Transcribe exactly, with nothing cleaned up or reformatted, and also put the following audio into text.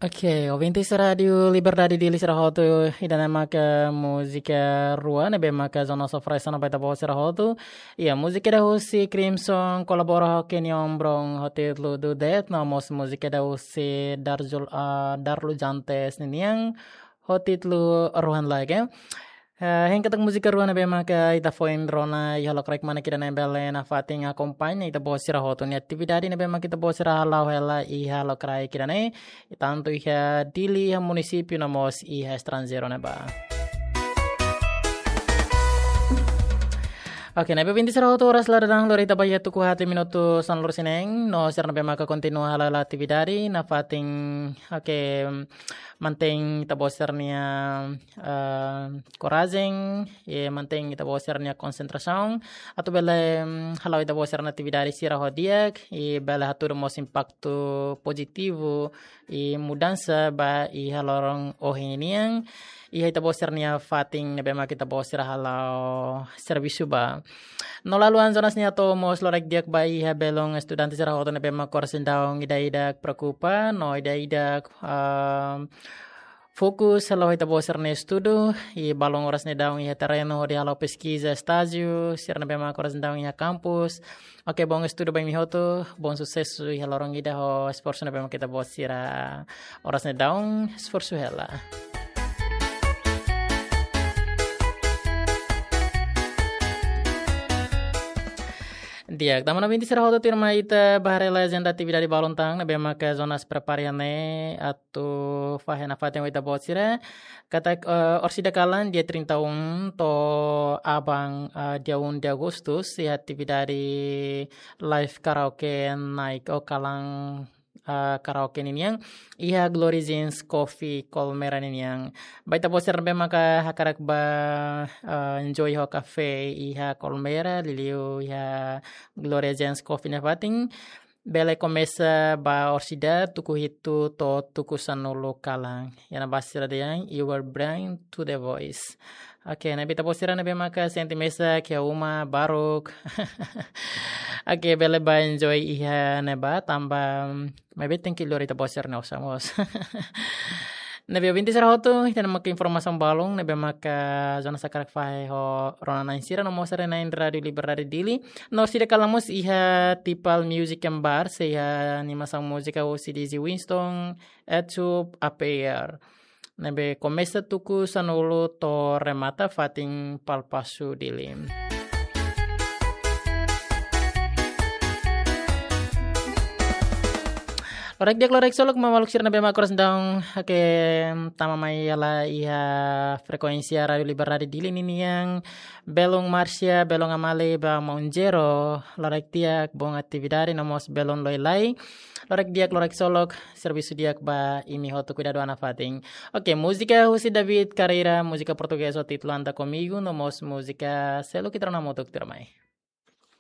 Oke, ouvintes Rádiu Liberdade Dili sira hotu, ida-ne'e maka múzika rua ne'ebé maka Jonas oferese ona ba ita-boot sira hotu. Iha múzika ida husi Crimson kolabora ho Kenyon Brown ho títulu Do That, no mós múzika ida husi Darjul, ah, Darlu Jantes ninian ho títulu Rohan Lage. Eh, hein katak múzika rua ne'ebé maka ita foin rona iha lokraik manek ida-ne'e bele nafatin akompaña ita-boot sira hotu nia atividade ne'ebé maka ita-boot sira hala'o hela iha lokraik ida-ne'e, tantu iha Dili, iha munisípiu no mós iha estranjeiru ne'ebá. Oke, ne'ebé ouvintes sira hotu, oras la daudaun lori ita ba iha tuku haat minutu sanulu-resin-neen, no sira ne'ebé maka kontinua hala'o atividade nafatin, oke, mantein ita-boot sira-nia, eh, korajen, i mantein ita-boot sira-nia konsentrasaun, atu bele, mm, hala'o ita-boot sira-nia atividade sira ho di'ak, i bele hatudu mós impaktu pozitivu i mudansa ba iha loron ohin nian, iha ita-boot sira-nia fatin ne'ebé maka ita-boot sira hala'o servisu ba. No la haluha Jonas nia hato'o mós loraik di'ak ba iha belun estudante sira hotu ne'ebé maka oras daudaun ida-idak preokupa, no ida-idak, ah, fokus hala'o ita-boot sira-nia estudu, i balun oras daudaun iha terrenu hodi hala'o peskiza, estájiu, sira ne'ebé maka oras daudaun iha kampus. Oke, bom estudu ba imi hotu, bom susesu iha loron ida ho esforsu ne'ebé maka ita-boot sira oras daudaun esforsu hela. Di'ak, tanba ne'e ouvintes sira hotu, tuirmai ita bá haree lai ajenda atividade balun tan ne'ebé maka Jonas prepara iha ne'e atu fahe nafatin ho ita-boot sira. Katak, eh, orsida kalan dia trinta e um to'o aban, eh, dia um de agosto, iha atividade live karaoke night ou kalan, eh, karaoke ninian iha Glory Jeans Coffee Colmera ninian. Ba ita-boot sira ne'ebé maka hakarak ba, eh, enjoy ho kafé iha Colmera, liuliu iha Glory Jeans Coffee nia fatin, bele komesa ba orsida tuku hitu to'o tuku sanulu kalan. Iha ne'ebá sira dehan, "You were born to the voice." Oke, ne'ebé ita-boot sira ne'ebé maka sente mesak iha uma, baruk. Oke, bele ba enjoy iha ne'ebá, tanba maibé tenke lori ita-boot sira-nia osan mós. Ne'ebé ouvintes sira hotu, ida-ne'e maka informasaun balun ne'ebé maka Jonas hakarak fahe ho rona-na'in sira no mós haree-na'in Rádiu Liberdade Dili. No orsida kalan mós iha Tipal Music and Bar, sei iha animasaun múzika husi D J Winston, Etup, A P R. Ne'ebé komesa tuku sanulu to'o remata fatin Palpasu Dili. Loraik di'ak, loraik solok, maluk sira ne'ebé maka oras daudaun, oke, tama mai hela iha frekuénsia Rádiu Liberdade Dili ninian, belun Márcia, belun Amalia, ba maun Jero, loraik di'ak, bom atividade, no mós belun Loilai, loraik di'ak, loraik solok, servisu di'ak ba imi hotu, kuidadu an nafatin. Oke, múzika husi David Carreira, múzika portugés ho títulu Anda Comigo, no mós múzika Selo Kitrona Motuk Tirmai.